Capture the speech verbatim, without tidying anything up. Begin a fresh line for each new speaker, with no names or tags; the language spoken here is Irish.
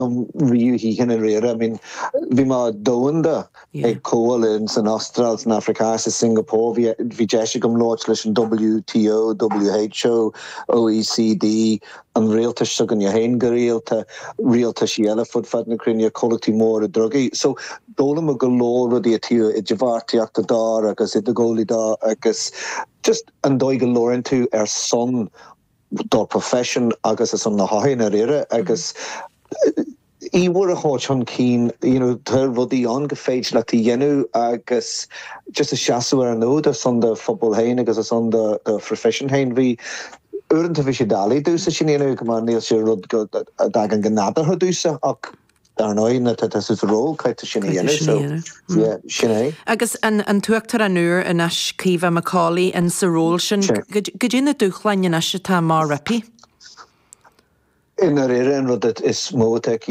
riamh i ndáiríre. I mean, bhí mé domhanda ag comhdháil san Astráil, san Afraic, sa Singapore, bhí bhí deis agam labhairt leis an W T O, W H O, O E C D, an rialtas s'againne féin go rialta, rialtais eile fud fad na cruinne, comhlachtaí móra drugaí. So d'fhoghlaim go leor rudaí taobh idirbheartaíochta de agus idirghabhálaí de agus just an dóigh go labhraíonn tú ar son do profession agus is an na hain ar ire agus íhar a háit chun cinn you know, tá rudaí ann go féidir leat a dhéanamh agus just a seasamh ar an fhód ar son do phobal féin agus ar son do do profession féin. Bhí uaireanta bhí sé doiligh domhsa sin a dhéanamh go mar níl sé rud go a dtagann go nádúrtha domhsa, ach dar ndóigh nuair atá tú sa ról caithfidh sin a dhéanamh, so yeah, sin é.
Agus an, an tUachtarán úr anois, Caoimhe McCauley, in sa ról sin, cad é na dúshláin anois atá mar roimpi?
I ndáiríre, an rud is mó atá